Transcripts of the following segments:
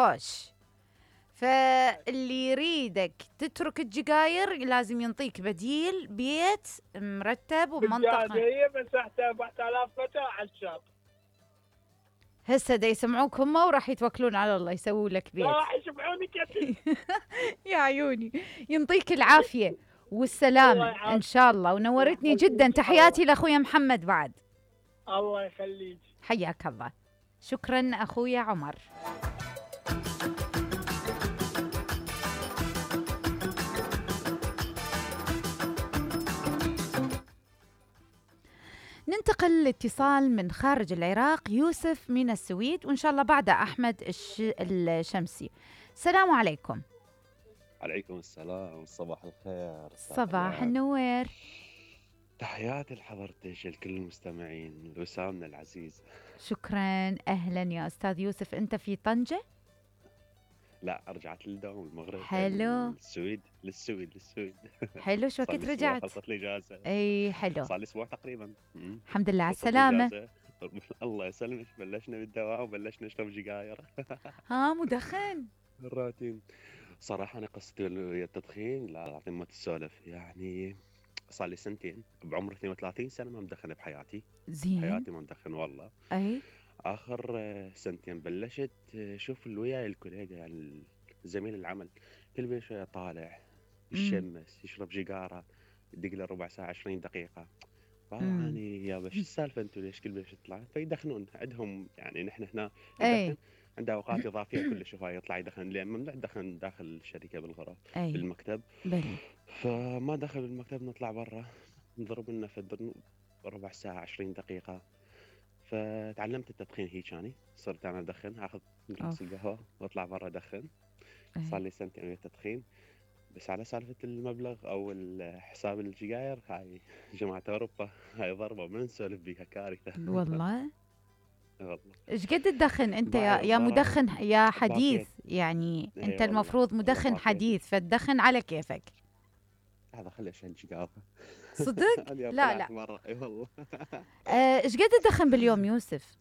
خوش. فاللي يريدك تترك السجاير لازم ينطيك بديل، بيت مرتب ومنطقة. هي مساحته 4000 متر على الشاط. هسه دا يسمعوك هم وراح يتوكلون على الله يسووا لك بيت. راح يسمعوني كثير. يا عيوني، ينطيك العافية والسلامة إن شاء الله. ونورتني جدا. تحياتي لأخويا محمد بعد. الله يخليك. حياك الله. شكرا أخويا عمر. ننتقل لاتصال من خارج العراق، يوسف من السويد، وإن شاء الله بعده أحمد الشمسي. السلام عليكم. عليكم السلام، صباح الخير. صباح النوير. تحياتي لحضرتك الكل المستمعين، وسامنا العزيز. شكرا. أهلا يا أستاذ يوسف. أنت في طنجة؟ لا، رجعت للدوام المغرب. حلو. للسويد. حلو. شو وقت رجعت؟ خلصت لي اجازه. اي حلو. صار لي اسبوع تقريبا. الحمد لله على السلامه. الله يسلمك. بلشنا بالدوام وبلشنا نشرب سجاير. مدخن. الروتين. صراحه انا قصتي التدخين لا اعطي ما تسولف، يعني صار لي سنتين بعمر 32 سنه ما مدخن بحياتي. زين. حياتي ما مدخن والله. اي. اخر سنتين بلشت شوف وياي الكوليجا، يعني زميل العمل، كل بين شويه طالع يشمس يشرب سيجاره، يدق له ربع ساعه 20 دقيقه. فاني يا شو السالفه انتم ليش كل بين تطلع؟ فيدخنون عندهم، يعني نحن هنا ندخن عنده اوقات اضافيه كلش هواي يطلع يدخن، لان ممنوع تدخن داخل الشركه بالغرف بالمكتب. فما دخل بالمكتب، نطلع برا نضرب لنا في ربع ساعه 20 دقيقه. فتعلمت التدخين هيك، يعني صرت انا ادخن، اخذ جلاس القهوه واطلع برا ادخن. صار لي سنتين ويا التدخين. بس على سالفه المبلغ او حساب السجاير، هاي جماعه اوروبا هاي ضربه ما نسولف بيها، كارثه والله. والله. ايش قد تدخن انت يا مدخن يا حديث؟ يعني انت المفروض مدخن حديث، فتدخن على كيفك. هذا خلي اشيل سيجاره. صدق؟ لا مره اي والله. ايش قد تدخن باليوم يوسف؟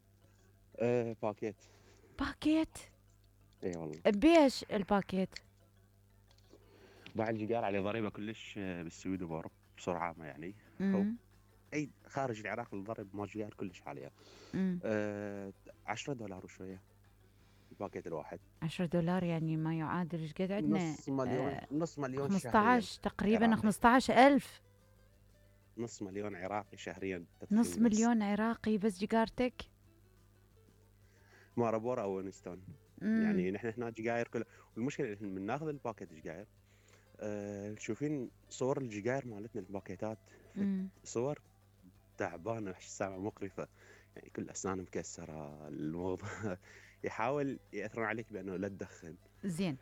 باكيت. اي والله. بيش الباكيت؟ باع السيجاره عليه ضريبه كلش بالسويد وباوروبا بسرعه عامه، يعني اي خارج العراق الضرب مال السيجار كلش عاليه. $10 وشويه الباكيت الواحد. $10 يعني ما يعادل ايش قد عندنا؟ نص مليون 15 تقريبا 15,000. نص مليون عراقي شهريا. نص مليون عراقي بس سيجارتك؟ ماربورا او وينستون. يعني نحن هنا سجاير كلها، والمشكله ان من ناخذ الباكيت سجاير تشوفين صور السجاير مالتنا الباكيتات، صور تعبانه سامعه مقرفه، يعني كل اسنان مكسره. الموضوع يحاول ياثرون عليك بانه لا تدخن. زين.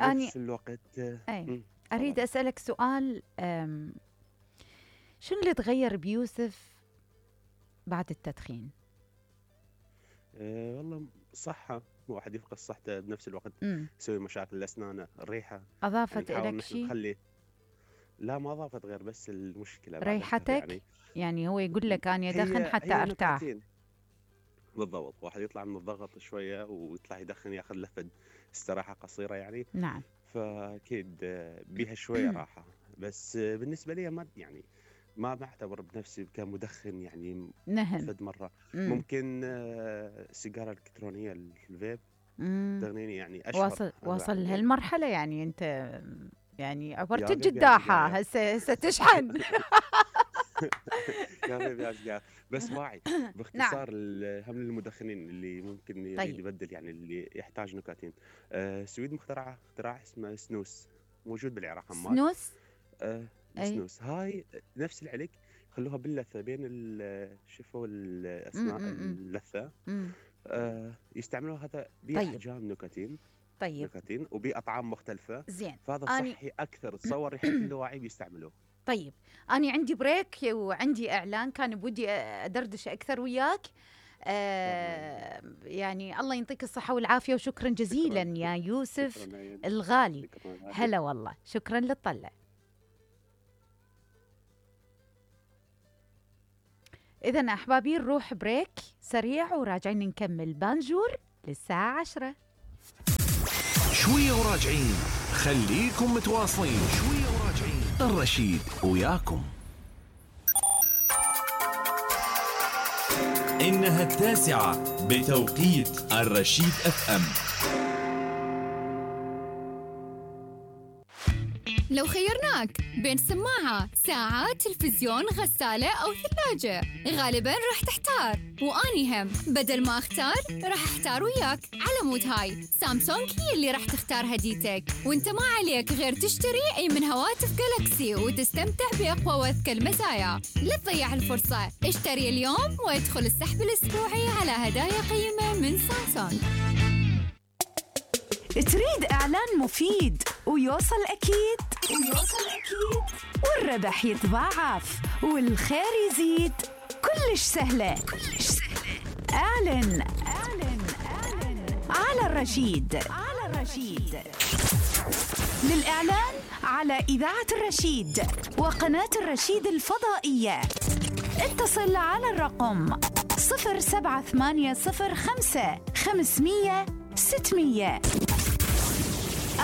نفس الوقت اريد اسالك سؤال. شنو اللي تغير بيوسف بعد التدخين؟ والله صحه، واحد يفقد صحته بنفس الوقت يسوي مشاكل الاسنان، الريحه. اضافت لك شيء؟ لا ما اضافت، غير بس المشكله ريحتك. يعني هو يقول لك انا ادخن حتى ارتاح. بالضبط. واحد يطلع من الضغط شويه ويطلع يدخن، ياخذ لفه استراحه قصيره يعني. نعم. فاكيد بيها شويه راحه. بس بالنسبه لي ما بعتبر بنفسي كمدخن، يعني فد مره ممكن السيجاره الالكترونيه الفيب تغنيني، يعني اشهر. واصل لهالمرحله يعني انت يعني عبرت الجداحه هسه تشحن. يا بيبي يا سجار. بس واعي باختصار. هم المدخنين اللي ممكن يريد يبدل، يعني اللي يحتاج نيكوتين. السويد مخترع اختراع اسمه سنوس، موجود بالعراق. سنوس؟ سنوس هاي نفس العلك، خلوها باللثه بين شوفوا الاسنان اللثه. يستعملوها هذا باحجام نيكوتين. نيكوتين وباطعام مختلفه. زين. فهذا صحي اكثر. تصور ريحه اللاواعي بيستعملوه. طيب أنا عندي بريك وعندي إعلان، كان بودي أدردش أكثر وياك. يعني الله يعطيك الصحة والعافية، وشكرا جزيلا يا يوسف الغالي. هلا والله، شكرا للطلع. إذن أحبابي نروح بريك سريع وراجعين نكمل بانجور للساعة 10. شوية وراجعين، خليكم متواصلين. شوية وراجعين، الرشيد وياكم. إنها 9 بتوقيت الرشيد FM. لو خيرناك بين سماعة، ساعة، تلفزيون، غسالة أو ثلاجة، غالباً راح تحتار، وأني هم بدل ما أختار راح أحتار وياك. على مود هاي سامسونج هي اللي راح تختار هديتك، وانت ما عليك غير تشتري أي من هواتف جالاكسي وتستمتع بأقوى وأذكى المزايا. لا تضيع الفرصة، اشتري اليوم وادخل السحب الأسبوعي على هدايا قيمة من سامسونج. تريد إعلان مفيد ويوصل أكيد والربح يتضاعف والخير يزيد؟ كلش سهلة. اعلن على الرشيد. للإعلان على إذاعة الرشيد وقناة الرشيد الفضائية اتصل على الرقم 07805 500 600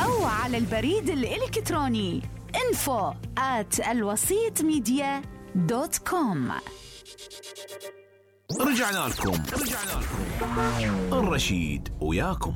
أو على البريد الإلكتروني info@alwasitmedia.com. رجعنا لكم. الرشيد وياكم.